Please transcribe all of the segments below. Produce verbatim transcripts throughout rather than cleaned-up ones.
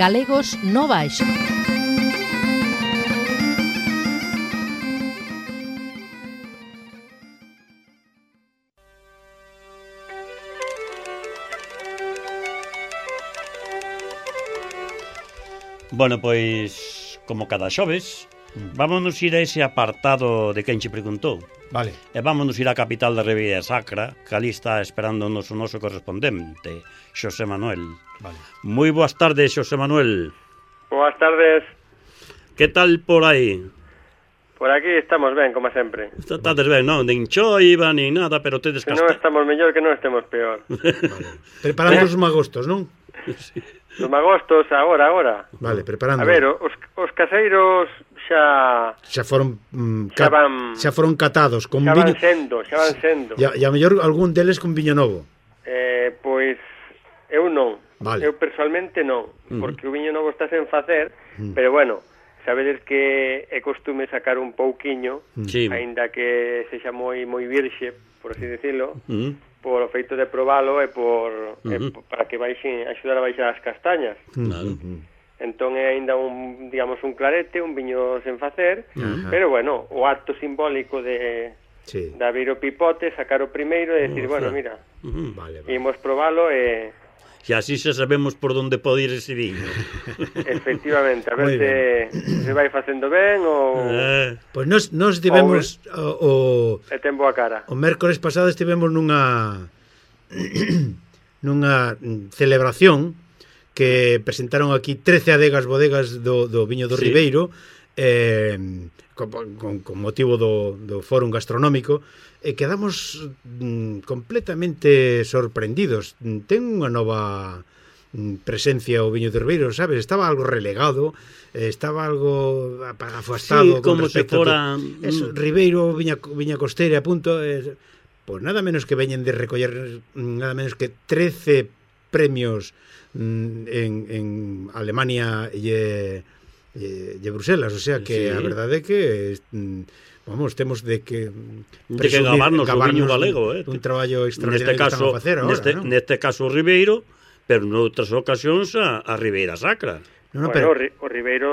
Galegos no Baixo. Bueno, pois, como cada xoves, vámonos ir a ese apartado de quen che preguntou. Vale. E vámonos ir á capital da Ribeira Sacra, que ali está esperándonos o noso correspondente, Xosé Manuel. Vale. Moi boas tardes, Xosé Manuel. Boas tardes. Que tal por aí? Por aquí estamos ben, como sempre. Estades ben, non? Nin choiva, nin nada, pero tedes que casta... non estamos mellor, que non estemos peor. Vale. Preparando os magostos, non? Sí. Os magostos, agora, agora. Vale, preparando. A ver, os, os caseiros xa... Xa foron mm, xa, ca... van, xa foron catados con xa viño. van sendo, xa van sendo. E a mellor algún deles con viño novo. Eh, pois eu non. Vale. Eu personalmente non, Uh-huh. porque o viño novo está sen facer, Uh-huh. pero bueno, sabedes que é costume sacar un pouquiño, Sí. aínda que sexa moi moi virxe, por así decirlo. Mm. Por o feito de probalo e por uh-huh. e por, para que baixen axudar a baixar as castañas. Claro. Entón é aínda un, digamos, un clarete, un viño sen facer, Ajá. pero bueno, o acto simbólico de Sí. de abrir o pipote, sacar o primeiro e decir, Oza. bueno, mira, Mm. Vale, vale. imos probalo e E así xa sabemos por onde pode ir ese viño. efectivamente, a Moi ver se se vai facendo ben ou Eh, Pois nos, nos tivemos o, o, e ten boa cara. o mércores pasado estivemos nunha nunha celebración que presentaron aquí trece adegas bodegas do, do viño do Sí. Ribeiro, eh, con, con, con motivo do, do fórum gastronómico, e quedamos mm, completamente sorprendidos. Ten unha nova mm, presencia o viño do Ribeiro, sabes? Estaba algo relegado, eh, estaba algo afastado Sí, como se respecto fora, a to- eso, mm. Ribeiro, viña, viña costeira, a punto, eh, pois nada menos que veñen de recoller mm, nada menos que trece premios mm, en, en Alemania e, e, e Bruselas, o sea que Sí. a verdade é que mm, vamos, temos de que De que gabarnos o viño galego, eh. un traballo extraordinario neste que caso, estamos a facer agora, neste, non? neste caso o Ribeiro, pero noutras ocasións a, a Ribeira Sacra. No, no, Bueno, pero, o, Ri- o Ribeiro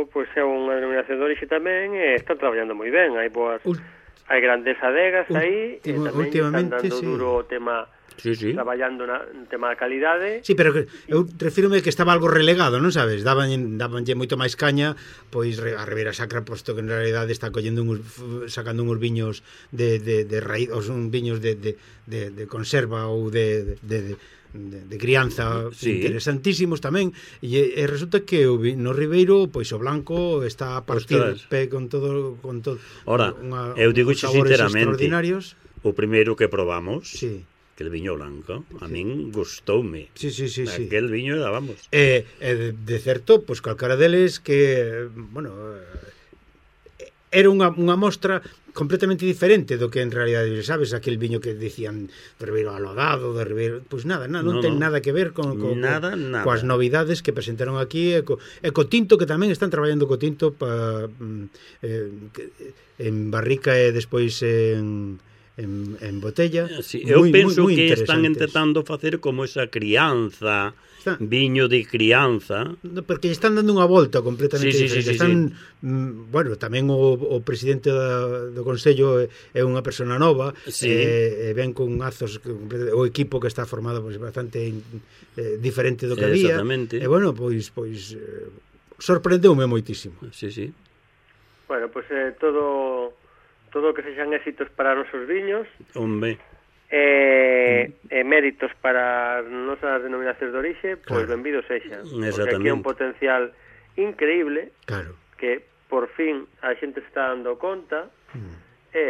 pois é unha denominación de orixe tamén e están traballando moi ben, hai boas ul- hai grandes adegas aí e Última- tamén últimamente, están dando sí. duro o tema Sí, sí. traballando na, no tema da calidade. sí, pero que, eu refírome que estaba algo relegado, non sabes? Daban dabanlle moito máis caña, pois re- a Ribeira Sacra, posto que en realidade está collendo uns, f- sacando uns viños de, de, de raíz, ou son viños de, de, de, de conserva ou de, de, de, de, de crianza, Sí. interesantísimos tamén, e, e resulta que o, vi- no Ribeiro, pois o blanco está a partir Ostras. pe, con todo con todo Ora, unha, eu digo uns xe sabores sinceramente, extraordinarios. O primeiro que probamos, Sí. que el viño blanco, a min gustoume. Sí, sí, sí, sí. Aquel viño era, vamos. E, e de, de certo, pois calcara deles que, bueno, eh, era unha, unha mostra completamente diferente do que en realidade, sabes, aquel viño que dicían de Ribeiro alodado, de Ribeiro, pois nada, nada non No, ten no. nada que ver con, con, Nada, con nada. coas novidades que presentaron aquí e co, e co tinto, que tamén están traballando co tinto pa, mm, eh, que- en barrica e despois en en, en botella. Sí, eu Moi, penso moi, moi que están interesantes. intentando facer como esa crianza, Está- viño de crianza. No, porque lle están dando unha volta completamente Sí, sí, diferente. sí, sí, están, mm, bueno, tamén o, o presidente da, do Consello é, é unha persona nova, Sí. e, e ven con azos, que- o equipo que está formado pois, bastante eh, diferente do que había. Exactamente. E bueno, pois, pois eh, sorprendeume moitísimo. Sí, sí. Bueno, pois eh, todo todo o que sexan éxitos para os nosos viños Hombre, e, e méritos para as nosas denominacións de orixe, pois Claro. benvido sexa. Porque aquí é Exactamente. un potencial increíble Claro. que por fin a xente se está dando conta Mm. e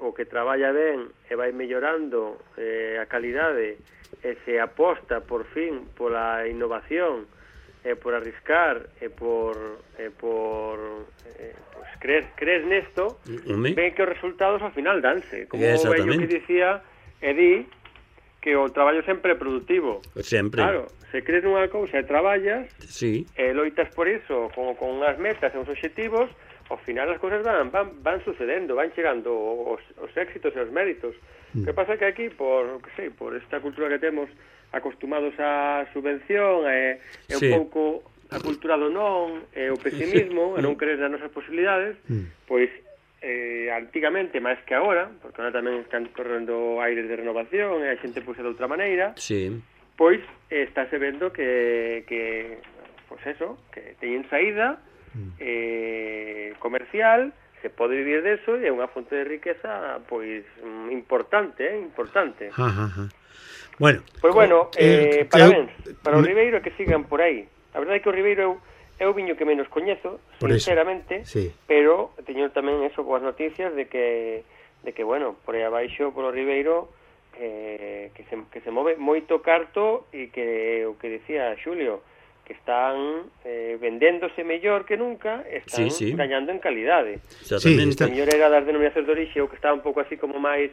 o que traballa ben e vai mellorando eh, a calidade e se aposta por fin pola innovación e por arriscar e por e por eh, pues, creer, creer nesto, Home. ven que os resultados ao final danse, como o vello Exactamente. que dicía e di que o traballo sempre é productivo. Sempre. Claro, se crees nunha cousa e traballas Sí. e loitas por iso con, con unhas metas e uns obxectivos, ao final as cousas van, van, van sucedendo, van chegando os, os éxitos e os méritos. Mm. O que pasa é que aquí, por, que sei, por esta cultura que temos, acostumados á subvención, é, é un sí. pouco a cultura do non, e o pesimismo, e non querer nas nosas posibilidades, mm. pois eh, antigamente, máis que agora, porque agora tamén están correndo aires de renovación, e a xente puse de outra maneira, sí. pois eh, estáse vendo que, que pois eso, que teñen saída mm. eh, comercial, se pode vivir deso, e é unha fonte de riqueza pois importante, eh, importante. Ajá, ajá. Bueno, pois bueno, eh, eh, parabéns que, para o Ribeiro, que sigan por aí. A verdade é que o Ribeiro é o viño que menos coñezo, sinceramente, sí. pero teño tamén eso, boas noticias de que, de que bueno, por aí abaixo, por o Ribeiro, eh, que, se, que se move moito carto e que o que decía Xulio, que están eh, vendéndose mellor que nunca, están sí, sí. gañando en calidade. Exactamente. Sí, o mellor era das denominacións de orixe, o que estaba un pouco así como máis,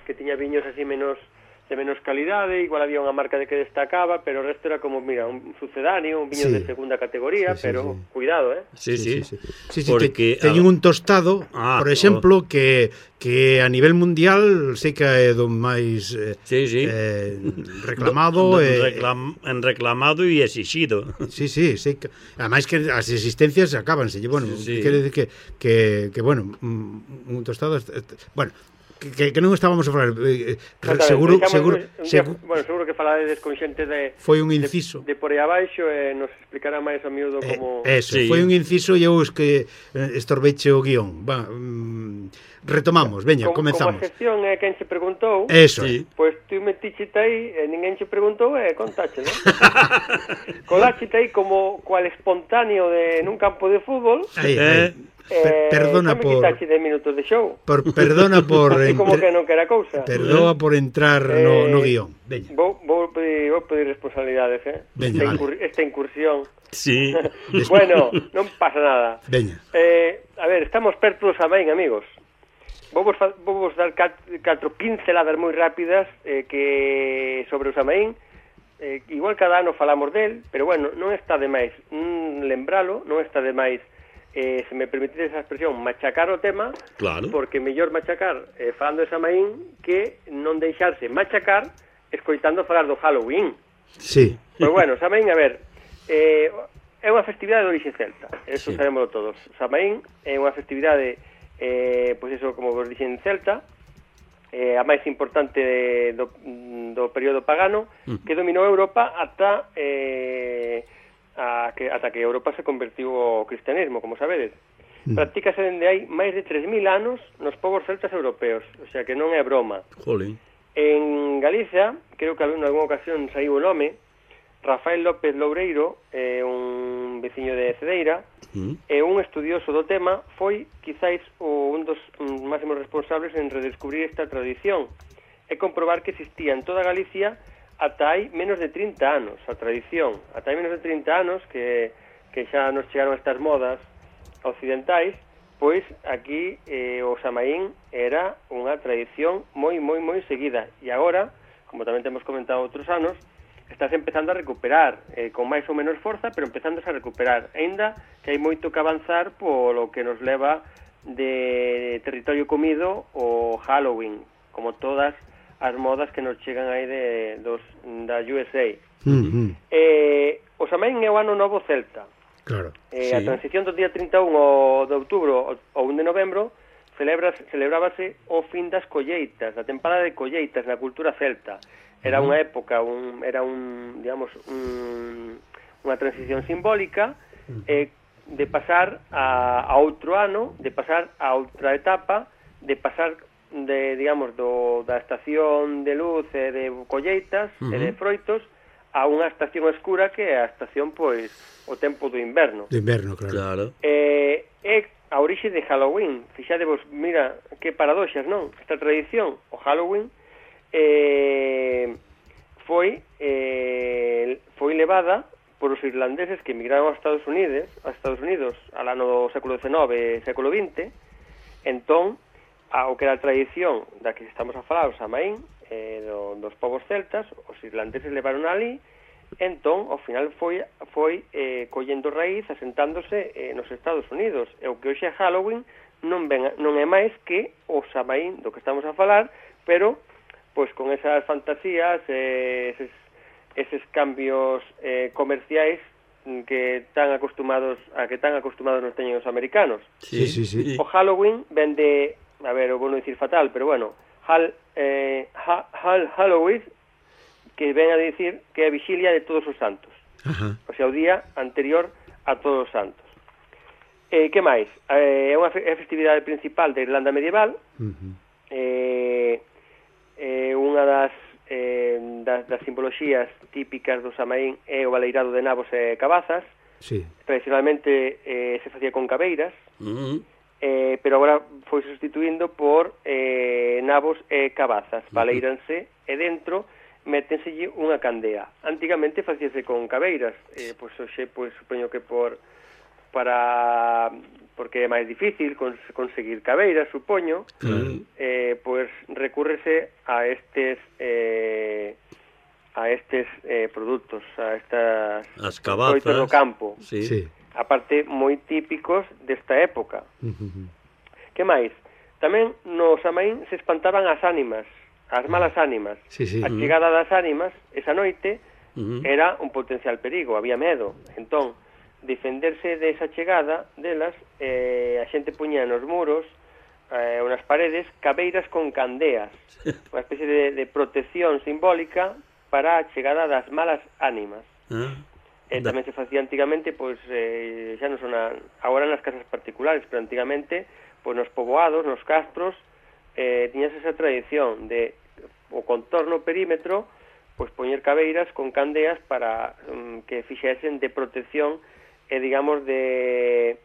que tiña viños así menos de menos calidade, igual había unha marca de que destacaba, pero o resto era como, mira, un sucedáneo, un viño sí. de segunda categoría, sí, sí, pero sí. cuidado, eh? Sí, sí, sí. sí, sí. sí, sí porque te, teñen un tostado, ah, por exemplo, oh. que que a nivel mundial sei que é do máis eh, sí, sí. eh, reclamado do, do, eh, reclam, en reclamado e exixido. Sí, sí, sí, que, ademais que as existencias acábanse, bueno, sí. quere decir que, que, que bueno, un tostado, bueno, que, que non estábamos a falar eh, seguro, seguro, un día, seguro bueno, seguro que falades con xente de foi un inciso de, de por aí abaixo e eh, nos explicará máis a miúdo como eh, eso, sí. foi un inciso e eu es que estorbeche o guión. Va, mm, retomamos, veña, como, comezamos. Como a sección é quen se preguntou, eso. Sí. Pois pues, tú metichete aí e ninguén se preguntou e contache, non? Coláchete aí como cual espontáneo de nun campo de fútbol. Aí, aí. Per, perdona eh, por de minutos de show. Por perdona por entre, como que non quera cousa. Perdona por entrar eh, no, no guión. Veña. Vou, vou, pedir, vou pedir responsabilidades, eh. Veña, esta, vale. incur, esta incursión. Sí. Bueno, non pasa nada. Veña. Eh, a ver, estamos perto do Samaín, amigos. Vou vos, vou vos dar catro pinceladas moi rápidas eh, que sobre o Samaín. Eh, igual cada ano falamos del, pero bueno, non está de máis mm, lembralo, non está de máis Eh, se me permitite esa expresión, machacar o tema, claro. Porque mellor machacar eh, falando de Samaín que non deixarse machacar escoitando falar do Halloween. Sí. Pois bueno, Samaín, a ver, eh, é unha festividade de orixe celta, eso sí. Sabémoslo todos. Samaín é unha festividade, eh, pois eso, como vos dixen, celta, eh, a máis importante do, do período pagano, mm. que dominou Europa ata... Eh, A que, ata que Europa se convertiu ao cristianismo, como sabedes. Mm. Practícase dende hai máis de tres mil anos nos povos celtas europeos, o sea que non é broma. Jolín. En Galicia, creo que en algunha ocasión saiu o nome, Rafael López Loureiro, eh, un veciño de Cedeira, mm. e un estudioso do tema, foi quizáis o, un dos um, máximos responsables en redescubrir esta tradición e comprobar que existía en toda Galicia ata hai menos de trinta anos, a tradición, ata hai menos de trinta anos que, que xa nos chegaron estas modas occidentais, pois aquí eh, o Samaín era unha tradición moi, moi, moi seguida, e agora, como tamén temos comentado outros anos, estás empezando a recuperar, eh, con máis ou menos forza, pero empezándose a recuperar, aínda que hai moito que avanzar polo que nos leva de territorio comido o Halloween, como todas as modas que nos chegan aí de, dos, da U S A. Mm-hmm. Eh, o Samaín é o ano novo celta. Claro. Eh, sí. A transición do día trinta e un ao de outubro ao un de novembro celebras, celebrábase o fin das colleitas, a tempada de colleitas na cultura celta. Era unha época, un, era un, digamos, un, unha transición simbólica eh, de pasar a, a outro ano, de pasar a outra etapa, de pasar de, digamos, do, da estación de luz e de colleitas uh-huh. e de froitos a unha estación escura que é a estación, pois, o tempo do inverno. Do inverno, claro. claro. Eh, é a orixe de Halloween. Fixadevos, mira, que paradoxas, non? Esta tradición, o Halloween, eh, foi eh, foi levada por os irlandeses que emigraron aos Estados Unidos, aos Estados Unidos al ano do século dezenove e século vinte. Entón, ao que era a tradición da que estamos a falar, o Samaín, eh, do, dos povos celtas, os irlandeses levaron ali, entón, ao final foi, foi eh, collendo raíz, asentándose eh, nos Estados Unidos. E o que hoxe é Halloween non, ven, non é máis que o Samaín do que estamos a falar, pero pois con esas fantasías, eh, eses, eses cambios eh, comerciais que tan acostumados a que tan acostumados nos teñen os americanos. Sí, sí, sí. O Halloween ven de, a ver, o vou non dicir fatal, pero bueno, Hal, eh, ha, Hal, Halloween, que ven a dicir que é a vixilia de todos os santos. Ajá. O sea, o día anterior a todos os santos. Eh, que máis? Eh, é unha fe é a festividade principal da Irlanda medieval. Uh-huh. Eh, eh, unha das Eh, das, das simboloxías típicas do Samaín é o baleirado de nabos e cabazas. Sí. Tradicionalmente eh, se facía con cabeiras, Uh-huh. eh, pero agora foi sustituindo por eh, nabos e cabazas. Baleiranse e dentro métenselle unha candea. Antigamente facíase con cabeiras, eh, pois hoxe pois supoño que por para porque é máis difícil cons, conseguir cabeiras, supoño, mm. eh, pois recúrrese a estes eh, a estes eh, produtos, a estas as cabazas do campo. Sí. Sí. Aparte moi típicos desta época. Uh-huh. Que máis? Tamén no Samaín se espantaban as ánimas, as malas ánimas. Sí, sí. A chegada das ánimas esa noite uh-huh. era un potencial perigo, había medo. Entón, defenderse desa chegada delas, eh, a xente puña nos muros eh, ou nas paredes cabeiras con candeas, unha especie de, de protección simbólica para a chegada das malas ánimas. Ah, e tamén se facía antigamente, pois eh, xa non son a, agora nas casas particulares, pero antigamente pois nos poboados, nos castros, eh, tiñas esa tradición de o contorno perímetro pois poñer cabeiras con candeas para um, que fixesen de protección e, digamos, de,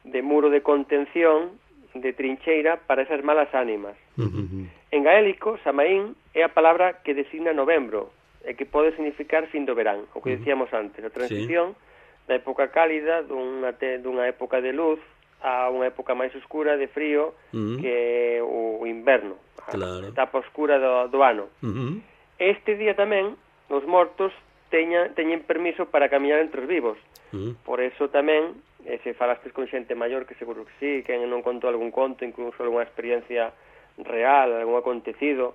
de muro de contención, de trincheira para esas malas ánimas. Uh-huh. En gaélico, Samaín é a palabra que designa novembro, e que pode significar fin do verán, o que decíamos antes, a transición sí. da época cálida, dunha, te, dunha época de luz, a unha época máis oscura de frío, uh-huh. que o, o inverno, claro. a etapa oscura do, do ano. Uh-huh. Este día tamén, os mortos teña, teñen permiso para camiñar entre os vivos. Uh-huh. Por eso tamén, eh, se falastes con xente maior, que seguro que sí, que non contou algún conto, incluso algunha experiencia real, algún acontecido,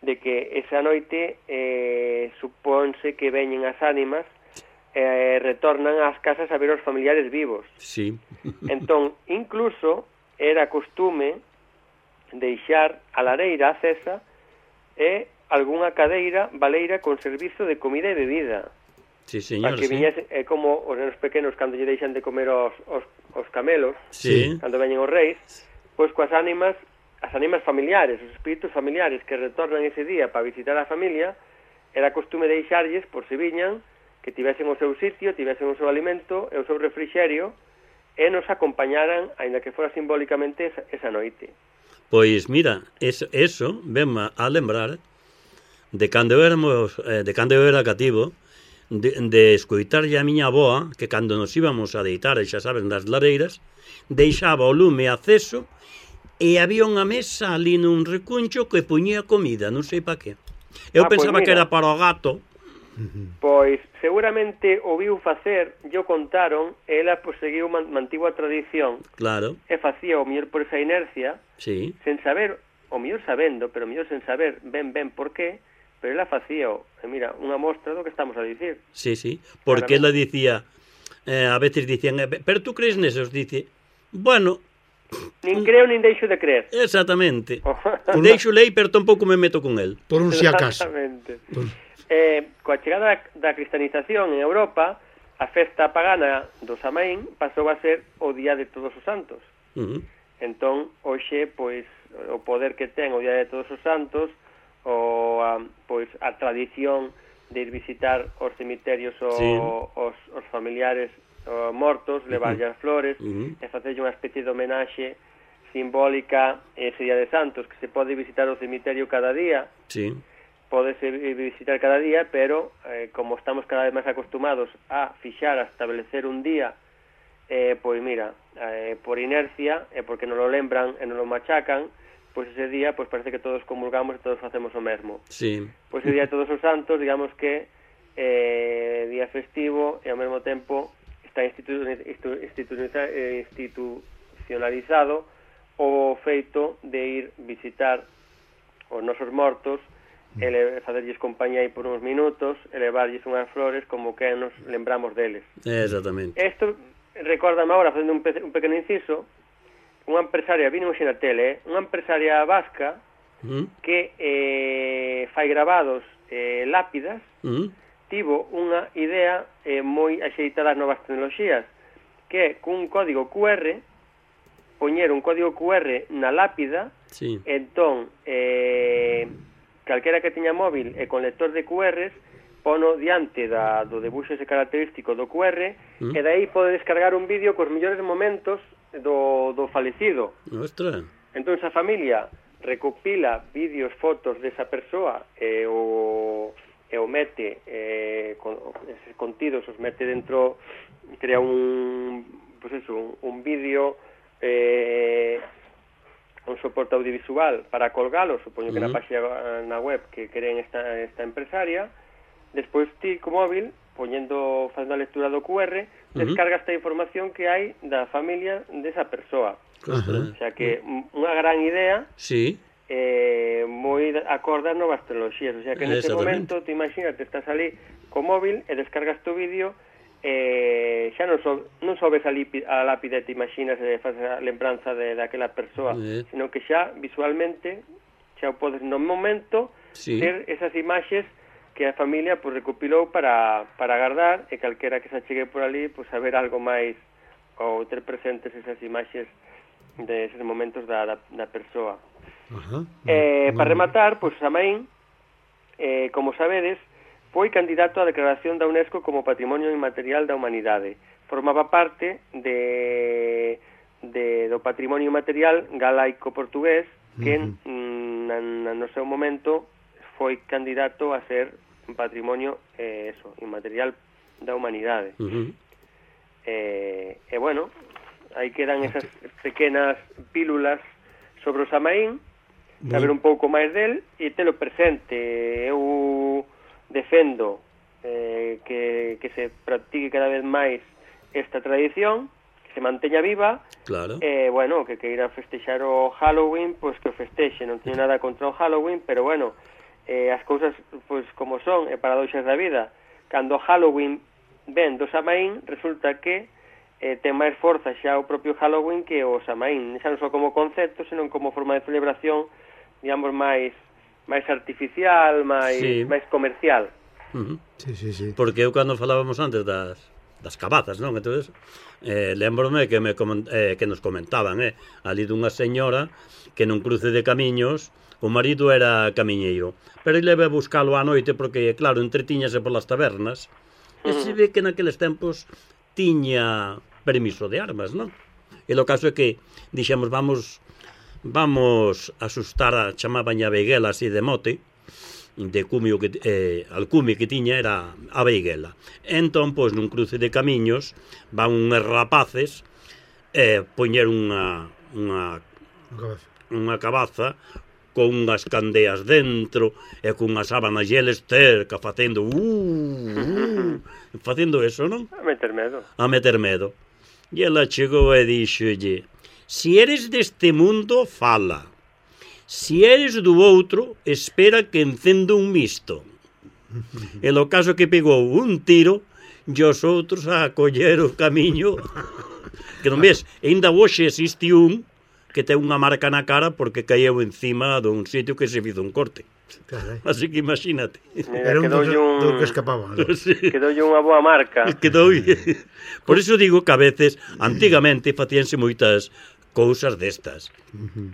de que esa noite eh, supónse que veñen as ánimas e eh, retornan ás casas a ver os familiares vivos. Sí. Entón, incluso, era costume deixar a lareira acesa e algunha cadeira baleira con servizo de comida e bebida. Sí, señor, para que sí. viñese, é como os nenos pequenos cando lle deixan de comer os, os, os camelos, sí. cando veñen os reis, pois coas ánimas, as ánimas familiares, os espíritus familiares que retornan ese día para visitar a familia, era costume deixarlles, por se viñan, que tivesen o seu sitio, tivesen o seu alimento e o seu refrixerio, e nos acompañaran, aínda que fora simbólicamente, esa, esa noite. Pois mira, eso, eso venme a lembrar de cando éramos, eh, de cando eu era cativo, de, de escoitarlle a miña avoa, que cando nos íbamos a deitar, xa sabes, nas lareiras, deixaba o lume aceso e había unha mesa ali nun recuncho que puñía comida, non sei pa que. Eu ah, pensaba pues que era para o gato. Pois seguramente o viu facer, yo contaron, e ela pues, seguiu man, mantivo a tradición. Claro. E facía o mellor por esa inercia, sí. sen saber, o mellor sabendo, pero o mellor sen saber ben ben por qué, pero ela facía, e mira, unha mostra do que estamos a dicir. Sí, sí, porque ela dicía, eh, a veces dicían, pero tú crees nesos? Dice, bueno... Nin creo, nin deixo de creer. Exactamente. Deixo lei, pero tampouco me meto con el. Por un si acaso. Exactamente. Eh, coa chegada da, da cristianización en Europa, a festa pagana do Samaín pasou a ser o Día de Todos os Santos. Uh-huh. Entón, hoxe, pois, o poder que ten o Día de Todos os Santos, o a, pois, a tradición de ir visitar os cemiterios o, sí. os, os familiares o, mortos, levarlle uh-huh. as flores, uh-huh. e facerlle unha especie de homenaxe simbólica ese Día de Santos, que se pode visitar o cemiterio cada día. Sí. Podese visitar cada día, pero eh, como estamos cada vez máis acostumados a fixar, a establecer un día, eh, pois mira, eh, por inercia, e eh, porque non lo lembran e non lo machacan, pois ese día pois parece que todos comulgamos e todos facemos o mesmo. Sí. Pois o Día de Todos os Santos, digamos que eh, día festivo e ao mesmo tempo está institu institu institucionalizado o feito de ir visitar os nosos mortos ele facerlles compañía aí por uns minutos e levarlles unhas flores como que nos lembramos deles. Exactamente. Isto, recórdame agora, facendo un, pe un pequeno inciso, unha empresaria, vino hoxe na tele, eh, unha empresaria vasca mm. que eh, fai grabados eh, lápidas, mm. tivo unha idea eh, moi axeitada ás novas tecnoloxías, que é cun código cu erre, poñer un código cu erre na lápida, sí. entón, eh, calquera que teña móvil e con lector de cu erres, pono diante da, do debuxo ese característico do cu erre, mm. e dai pode descargar un vídeo cos mellores momentos do, do falecido. Ostra. Entón, a familia recopila vídeos, fotos desa persoa e o, e o mete, eh, con, eses contidos os mete dentro, crea un, pues eso, un, un vídeo, eh, un soporte audiovisual para colgalo, supoño que uh -huh. na página na web que creen esta, esta empresaria. Despois ti, co móvil, poñendo, facendo a lectura do cu erre, uh -huh. descarga esta información que hai da familia desa persoa. Uh -huh. O sea que unha gran idea, sí. eh, moi acorde ás novas tecnoloxías. O sea que nese momento, te imaginas, te estás ali co móvil e descargas tu vídeo, eh, xa non, so, non só ves a, a lápida e te imaginas e faz a lembranza de daquela persoa, eh. sino que xa visualmente xa o podes no momento sí. ter esas imaxes que a familia pues, recopilou para, para guardar e calquera que se chegue por ali pues, saber algo máis ou ter presentes esas imaxes de esos momentos da, da, da persoa. Uh -huh. eh, para rematar, pues, Samaín, eh, como sabedes, foi candidato á declaración da UNESCO como Patrimonio Inmaterial da Humanidade. Formaba parte de, de, do patrimonio inmaterial galaico-portugués que uh -huh. na, na, no seu momento foi candidato a ser un patrimonio eh, eso, inmaterial da humanidade. Uh -huh. eh, e bueno, aí quedan esas pequenas pílulas sobre o Samaín, saber un pouco máis del e telo presente. Eu defendo eh, que, que se practique cada vez máis esta tradición, que se manteña viva, claro. E, eh, bueno, que queira festexar o Halloween, pois pues que o festexe, non teño nada contra o Halloween, pero bueno, eh, as cousas pois pues, como son, e paradoxas da vida, cando o Halloween ven do Samaín, resulta que eh, ten máis forza xa o propio Halloween que o Samaín, xa non só como concepto, senón como forma de celebración, digamos, máis máis artificial, máis sí. máis comercial. Uh -huh. Sí, sí, sí. Porque eu cando falábamos antes das, das cabazas, non? Entonces, eh, lembrome que, me, eh, que nos comentaban, eh, ali dunha señora que nun cruce de camiños o marido era camiñeiro, pero ele leve a buscalo á noite porque, claro, entretiñase polas tabernas, uh -huh. e se ve que naqueles tempos tiña permiso de armas, non? E o caso é que dixemos, vamos... vamos a asustar a chamaban a Beiguela así de mote, de cumio que, eh, alcume que tiña era a Beiguela. Entón, pois, nun cruce de camiños van unhos rapaces eh, poñer unha unha unha cabaza con unhas candeas dentro e con unha sábana geles cerca facendo uh, uh, facendo eso, non? A meter medo. A meter medo. E ela chegou e dixolle: si eres deste mundo, fala. Si eres do outro, espera que encendo un misto. E lo caso que pegou un tiro e os outros a coller o camiño. Que non ves, ainda hoxe existe un que ten unha marca na cara porque caeu encima dun sitio que se fizo un corte. Carai. Así que imagínate. Mira, era un dos un... que escapaba, ¿no? Sí. Quedoulle unha boa marca. Quedoulle. Por iso digo que a veces, antigamente, facíanse moitas cousas destas. Uh -huh.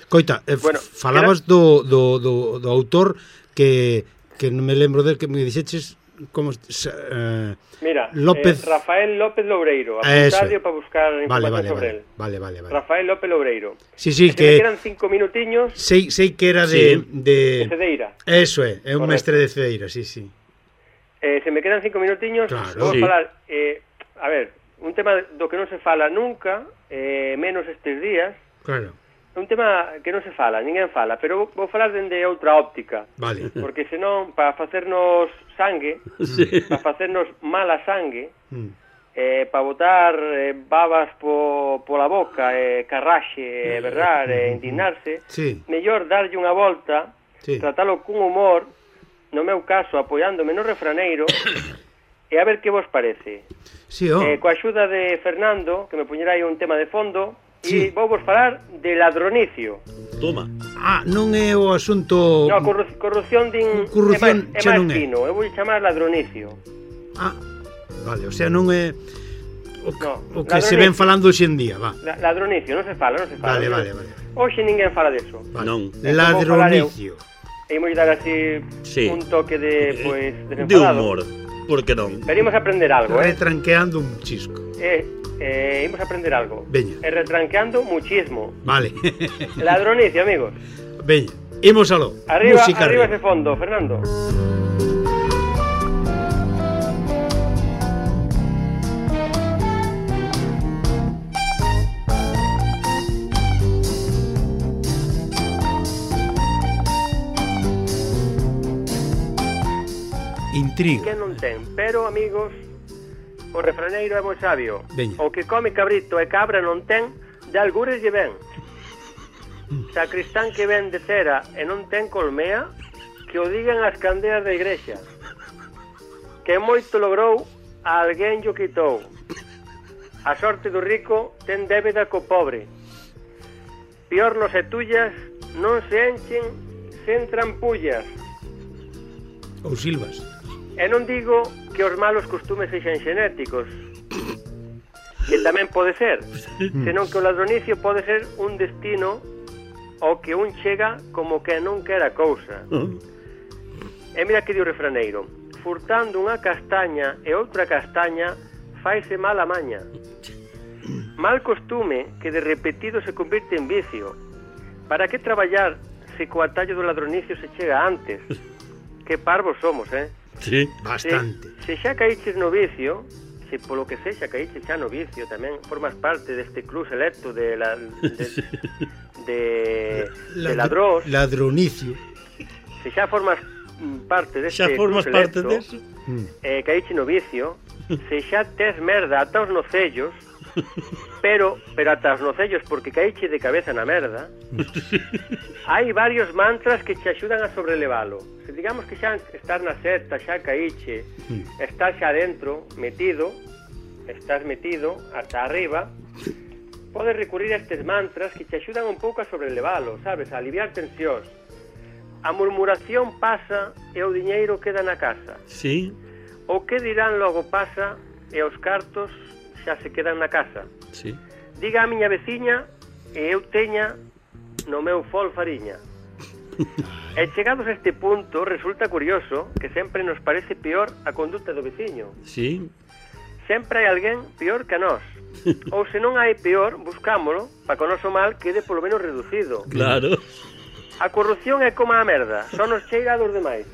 Coita, eh, bueno, falabas era... do, do, do, do autor que, que non me lembro del que me dixeches como uh, Mira, López... eh, Rafael López Loureiro, apuntadio para buscar información vale, vale, sobre vale, él. Vale, vale, vale. Rafael López Loureiro. Sí, sí, que... que... eran cinco minutiños... Sei, sei que era de... Sí. De... de Cedeira. Eso é, é un mestre de Cedeira, sí, sí. Eh, se me quedan cinco minutiños, claro. Vou sí. falar... Eh, a ver, un tema do que non se fala nunca, eh, menos estes días... Claro. Un tema que non se fala, ninguén fala, pero vou, vou falar dende outra óptica. Vale. Porque senón, para facernos sangue, sí. para facernos mala sangue, mm. eh, para botar eh, babas po, pola boca, eh, carraxe, eh, berrar, eh, indignarse, sí. mellor darlle unha volta Sí. tratalo cun humor, no meu caso, apoiándome no refraneiro, e a ver que vos parece. Sí, oh. Eh, coa axuda de Fernando, que me puñerá aí un tema de fondo, Sí. e vou vos falar de ladronicio. Toma. Ah, non é o asunto... No, corru corrupción din... Corrupción é máis, xa é non máis é. fino, eu vou chamar ladronicio. Ah, vale, o sea, non é... O que, No, o que se ven falando hoxe en día, va. La, ladronicio, non se fala, non se fala. Vale, non? vale, vale. Hoxe ninguén fala deso. Vale. Non. Ladronicio. E imos dar así Sí. un toque de, pues, De desenfadado. humor. Por que non? Venimos a aprender algo, eh? Retranqueando un chisco. Eh, eh, imos a aprender algo. Veña. E retranqueando muchismo. Vale. Ladronicio, amigos. Veña, imos aló. Arriba, Música arriba arriba. ese fondo, Fernando. Intriga. Que non ten, pero, amigos, o refraneiro é moi sabio. Veña. O que come cabrito e cabra non ten, de algures lle ven. Sacristán que ven de cera e non ten colmea, que o digan as candeas da igrexa. Que moito logrou, a alguén yo quitou. A sorte do rico ten débeda co pobre. Piornos e tullas non se enchen sen trampullas. Ou silvas. E non digo que os malos costumes sexan xenéticos, que tamén pode ser, senón que o ladronicio pode ser un destino ao que un chega como que non quera cousa. E mira que di o refraneiro: furtando unha castaña e outra castaña faise mala maña. Mal costume que de repetido se convirte en vicio. Para que traballar se co atallo do ladronicio se chega antes? Que parvos somos, eh? Sí. Bastante. Se, se xa caíches no vicio, se polo que sexa caíches xa no vicio, tamén formas parte deste club selecto de la, de, de, de ladrós. Ladronicio. Se xa formas mm, parte deste Xa formas club parte selecto, deso? eh, caíche no vicio, se xa tes merda ata os nocellos, pero pero ata os nocellos porque caíche de cabeza na merda, hai varios mantras que te axudan a sobrelevalo. Se digamos que xa estás na seta, xa caíche, estás xa dentro, metido, estás metido ata arriba, podes recurrir a estes mantras que te axudan un pouco a sobrelevalo, sabes, a aliviar tensións. A murmuración pasa e o diñeiro queda na casa. Sí. O que dirán logo pasa e os cartos xa se quedan na casa. Sí. Diga a miña veciña e eu teña no meu fol fariña. E chegados a este punto, resulta curioso que sempre nos parece peor a conduta do veciño. Sí. Sempre hai alguén peor que a nós. Ou se non hai peor, buscámolo para que o noso mal quede polo menos reducido. Claro. A corrupción é como a merda, só nos cheira a dos demais.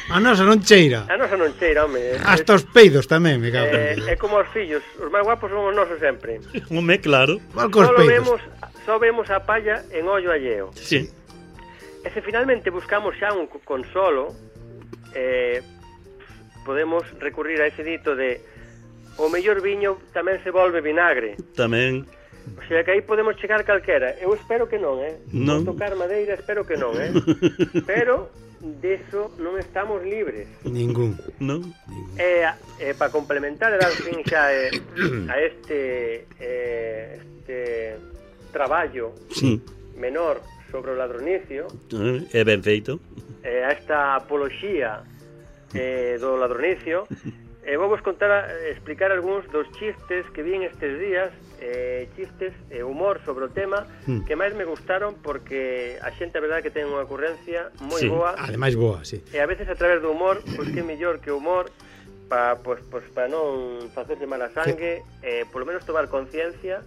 A nosa non cheira. A nosa non cheira, home. Hasta os peidos tamén, me cago. É, é como os fillos, os máis guapos son os nosos sempre. Home, claro. Igual cos Solo peidos. vemos, só vemos a palla en ollo alleo. Sí. E se finalmente buscamos xa un consolo, eh, podemos recurrir a ese dito de o mellor viño tamén se volve vinagre. Tamén. O sea que aí podemos chegar calquera. Eu espero que non, eh? Non. Vou tocar madeira, espero que non, eh? Pero deso non estamos libres. Ningún. Non? E, e para complementar e dar fin xa eh, a este eh, este traballo Sí. menor sobre o ladronicio, Eh, É ben feito. eh, a esta apoloxía eh, do ladronicio, e eh, vou vos contar, eh, explicar algúns dos chistes que vi en estes días, eh, chistes e eh, humor sobre o tema, Mm. que máis me gustaron porque a xente a verdade que ten unha ocurrencia moi Sí. boa, Ademais boa, sí. e a veces a través do humor, pois que mellor que o humor para pois, pois, pa non facerse mala sangue, eh, polo menos tomar conciencia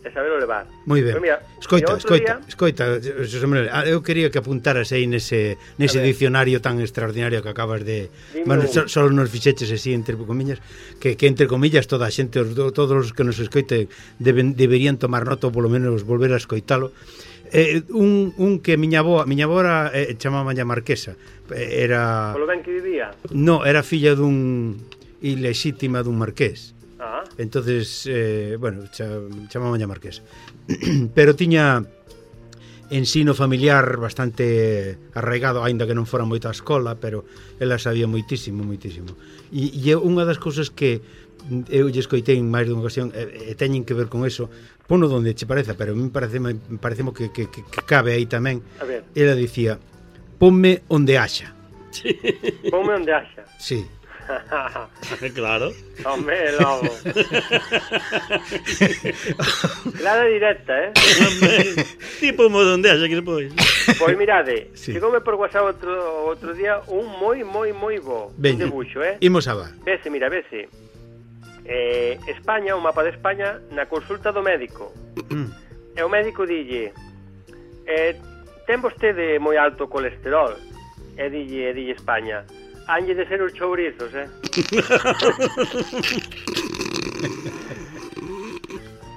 e saberlo levar. Moi ben. Pero mira, Escoita, e outro escoita, día- escoita, Xosé Manuel, ah, eu quería que apuntaras aí nese nese A ver. dicionario tan extraordinario que acabas de, Dime bueno, un. só, só nos fixeches así entre comillas, que que entre comillas toda a xente, os, todos os que nos escoite deben deberían tomar nota ou polo menos volver a escoitalo. Eh, un, un que miña avoa, miña avoa eh, chamáballa Marquesa. Eh, Era Polo ben que vivía. No, era filla dun ilexítima dun marqués. Ah, Entonces, eh, bueno, cha, chamáballa Marquesa. Pero tiña ensino familiar bastante arraigado, aínda que non fora moita a escola, pero ela sabía moitísimo, moitísimo. E, e unha das cousas que eu lle escoitei en máis dunha ocasión e, e teñen que ver con eso, pono donde che pareza, pero a mí parece, parece que, que, que, que cabe aí tamén. Ela dicía, ponme onde haxa. Sí. Ponme onde haxa. Sí. Claro. Hombre, logo. Clara directa, eh? Tipo modo onde haxa que despois. Pois mirade, sí. Chegoume por WhatsApp outro, outro día un moi, moi, moi bo un debuxo, eh? Imos a va. Vese, mira, vese. Eh, España, o mapa de España na consulta do médico. Mm. E o médico dille eh, ten vostede moi alto colesterol. E dille, e dille España, hanlle de ser os chourizos, eh?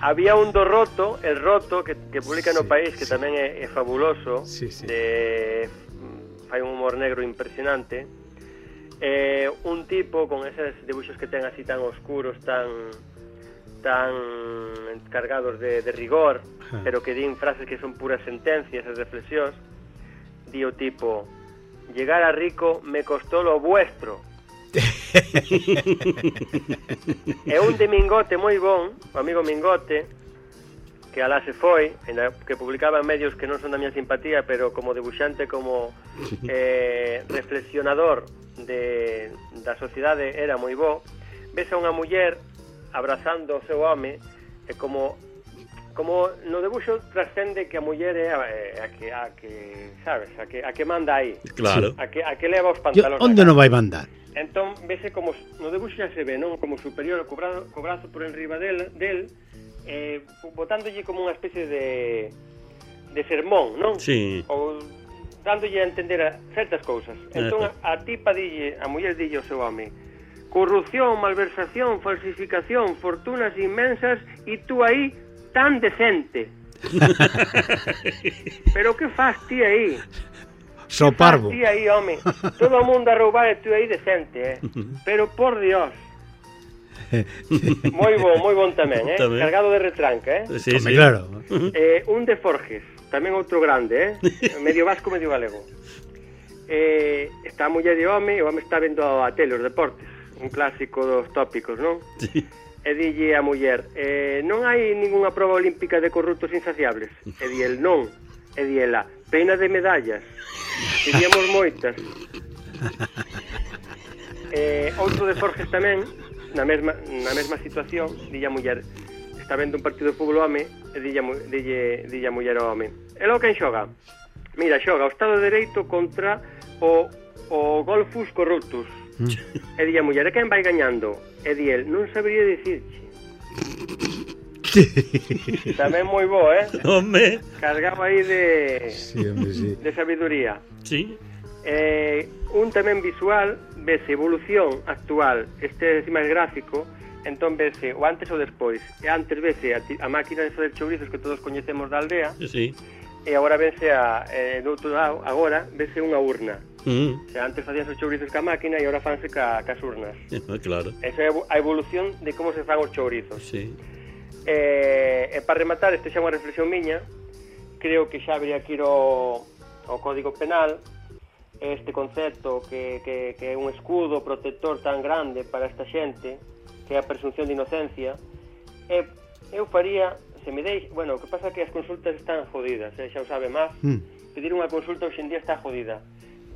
Había un do Roto, el Roto, que, que publica no sí, País, que sí. tamén é, é fabuloso, sí, sí. De, fai un humor negro impresionante. Eh, un tipo con esos dibuixos que ten así tan oscuros, tan tan cargados de, de rigor, ah. pero que din frases que son puras sentencias e reflexións. Di o tipo, llegar a rico me costó lo vuestro. É un de Mingote moi bon, o amigo Mingote, que alá se foi, que publicaba en medios que non son da miña simpatía, pero como debuxante, como eh, reflexionador de, da sociedade era moi bo. Ves a unha muller abrazando o seu home, e como como no debuxo trascende que a muller é a, a que a que, sabes, a que a que manda aí. Claro. A que a que leva os pantalóns. Onde non vai mandar? Entón, vese como no debuxo xa se ve, non, como superior, co brazo, co brazo por enriba del, del eh, botándolle como unha especie de de sermón, non? Sí. Ou dándolle a entender a certas cousas. Entón, a, a tipa dille, a muller dille ao seu home, corrupción, malversación, falsificación, fortunas inmensas, e tú aí tan decente. Pero que faz ti aí? So parvo. Ti aí, home. Todo o mundo a roubar e tú aí decente, eh? Pero por Dios. Moi bon, moi bon tamén, eh? Tamén. Cargado de retranca, eh? Sí, sí. Claro. Eh, un de Forges, tamén outro grande, eh? Medio vasco, medio galego. Eh, está a muller de home, o home está vendo a tele os deportes, un clásico dos tópicos, non? Sí. E dille a muller, eh, non hai ningunha proba olímpica de corruptos insaciables? E di el, non. E di ela, pena de medallas. Teríamos moitas. eh, outro de Forges tamén, na mesma, na mesma situación, dille a muller, está vendo un partido de fútbol o home, e dille, dille, dille a muller ao home, e logo quen xoga? Mira, xoga o Estado de Dereito contra o, o Golfus Corruptus. Mm. E dille a muller, e quen vai gañando? E di el, non sabería dicirche. Tamén moi bo, eh? Home. Cargado aí de sí, hombre, sí. de sabiduría. Sí. Eh, un tamén visual, vese evolución actual, este é máis gráfico, entón vese o antes ou despois. E antes vese a, a máquina de fazer chourizos que todos coñecemos da aldea. Sí. E agora vese a eh, do outro lado, agora vese unha urna. Mm. O sea, antes facían os chourizos ca máquina e agora fanse ca, cas urnas. Claro. Esa é a evolución de como se fan os chourizos. Sí. Eh, e para rematar, este xa é unha reflexión miña, creo que xa habría que ir ao, ao Código Penal, este concepto que, que, que é un escudo protector tan grande para esta xente, que é a presunción de inocencia, e eu faría, se me deixe, bueno, o que pasa é que as consultas están jodidas, eh, xa o sabe máis, mm. pedir unha consulta hoxe en día está jodida.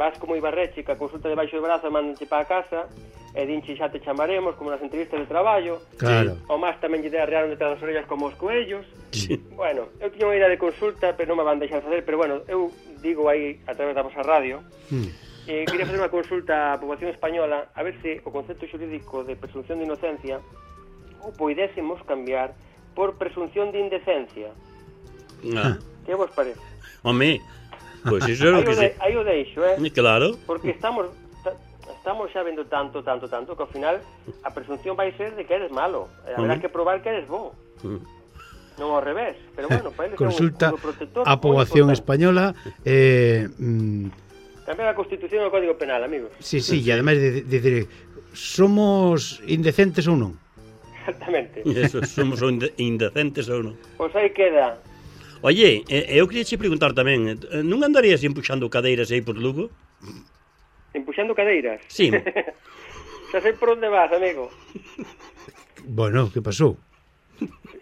Vas como Ibarreche, que a consulta debaixo do brazo mandanche para a casa, e dinche xa te chamaremos, como nas entrevistas de traballo. Claro. O máis tamén lle arrearon detrás das orellas como os coellos. Sí. Bueno, eu tiña unha idea de consulta, pero non me van deixar facer, pero bueno, eu digo aí a través da vosa radio, mm. eh, quería facer unha consulta á poboación española a ver se o concepto xurídico de presunción de inocencia o poidésemos cambiar por presunción de indecencia. Ah. Que vos parece? Home, pois pues iso é o que se... Aí o deixo, eh? Claro. Porque estamos estamos xa vendo tanto, tanto, tanto que ao final a presunción vai ser de que eres malo. Eh, haberá que probar que eres bo. Mm. Non ao revés, pero bueno, para eles consulta é un protector a poboación española eh, mm, cambiar a Constitución e o Código Penal, amigos. Sí, sí, e ademais de decir, somos indecentes ou non? Exactamente. Eso, somos indecentes ou non. Pois aí queda. Oye, eh, eu queria che preguntar tamén, eh, non andarías empuxando cadeiras aí por Lugo? Empuxando cadeiras? Sí. Xa sei por onde vas, amigo. Bueno, que pasou?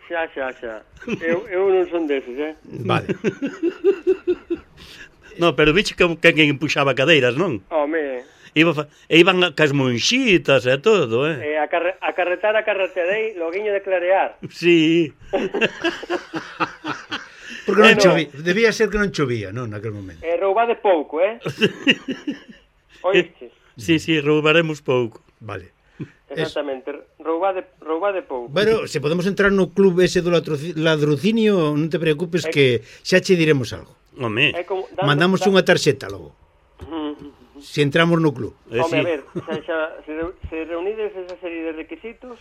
Xa, xa, xa. Eu, eu non son deses, eh? Vale. No, pero bicho que quen empuxaba cadeiras, non? Home, Iba, fa- e iban a- cas monxitas e todo, eh? eh, a, carre, a carretar a carreterei, loguiño de clarear. Sí. Porque non Bueno. chovía, debía ser que non chovía, non, naquel momento. E roubade pouco, eh? Oístes? Sí, sí, roubaremos pouco. Vale. Exactamente, roubade, roubade pouco. Bueno, se podemos entrar no club ese do ladroci- ladrucinio, non te preocupes É- que xa che diremos algo. Home, É como, dando- Mandamos da- unha tarxeta logo, se entramos no club. eh, Home, sí. a ver, xa, xa, se, reu- se reunides esa serie de requisitos,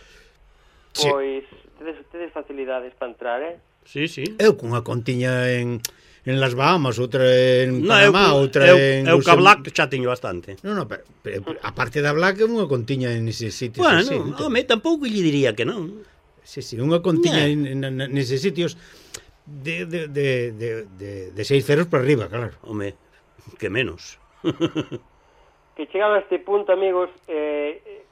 Sí. pois tedes, tedes facilidades para entrar, eh? Sí, sí. Eu cunha contiña en, en las Bahamas, outra en No, eu, Panamá, outra eu, en... eu ca Luxem- Black xa teño bastante. No, no, pero, pero aparte da Black, unha contiña en ese sitio. Bueno, sí, sí, home, tampouco lle diría que non. sí, sí, unha contiña Nah. en, en, en, neses sitios de, de, de, de, de, de seis ceros para arriba, claro. Home, que menos. Que chegado a este punto, amigos, eh,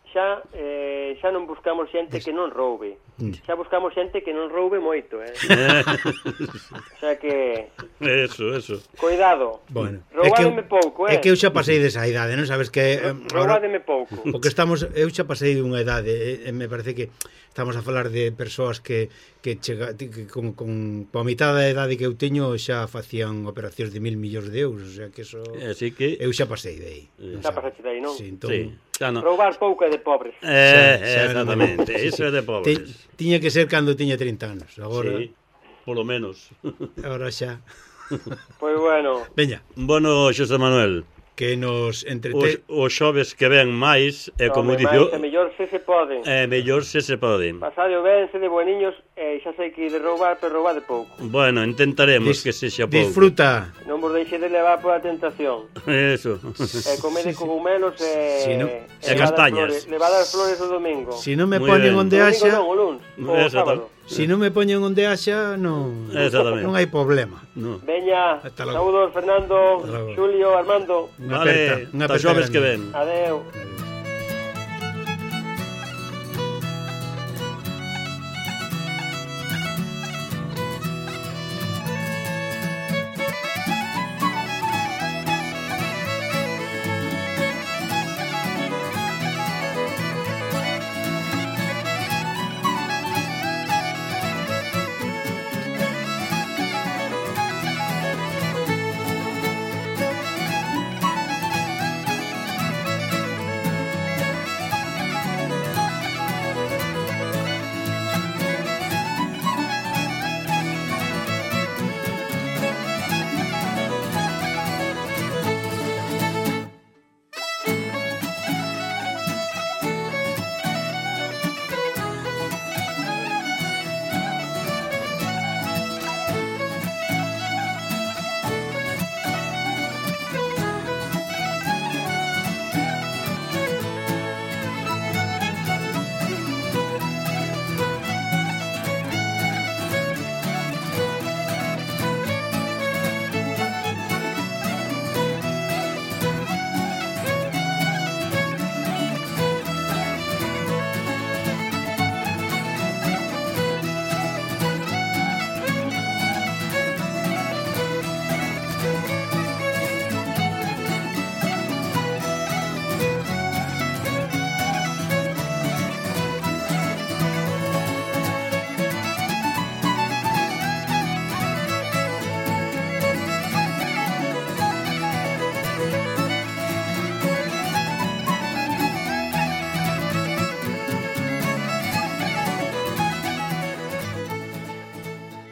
xa eh, xa non buscamos xente que non roube. Xa buscamos xente que non roube moito, eh? O sea que, Eso, eso. cuidado. Bueno, Roubádeme pouco, eh? É que eu xa pasei desa idade, non sabes que eh, ahora, Roubádeme pouco. o que estamos, eu xa pasei dunha idade, e, e me parece que estamos a falar de persoas que que chega que con con coa mitad da idade que eu teño xa facían operacións de mil millóns de euros, o sea que eso Así que... eu xa pasei de aí. Xa pasaste de aí, non? Sí, entón, Sí, xa non. Roubar pouco é de pobres. Eh, Xa- xa exactamente, non- iso é de Ti- pobres. tiña que ser cando tiña trinta anos, agora Sí, polo menos. agora xa. Pois bueno, Veña, Bueno, Xosé Manuel, que nos os, entrete os xoves que ven máis, e como home, dixo, máis e mellor se se poden. é mellor se se pode. Pasadio ben, se de bueniños, e xa sei que de roubar, pero roubade pouco. Bueno, intentaremos Dis- que sexa pouco. disfruta. Non vos deixe de levar pola tentación. Eso. E comede cogumelos e... Si no- e e levade as castañas. flores- Levade as flores o domingo. Si non me Muy poñen ben. onde O domingo haxa, non, o luns, o Exacto. sábado. si non me poñen onde haxa, non Exactamente. non hai problema. No. Veña, Hasta logo. saúdos Fernando, Hasta logo. Xulio, Armando. Unha Vale, aperta, unha hasta aperta xoves que grande. ven. Adeu.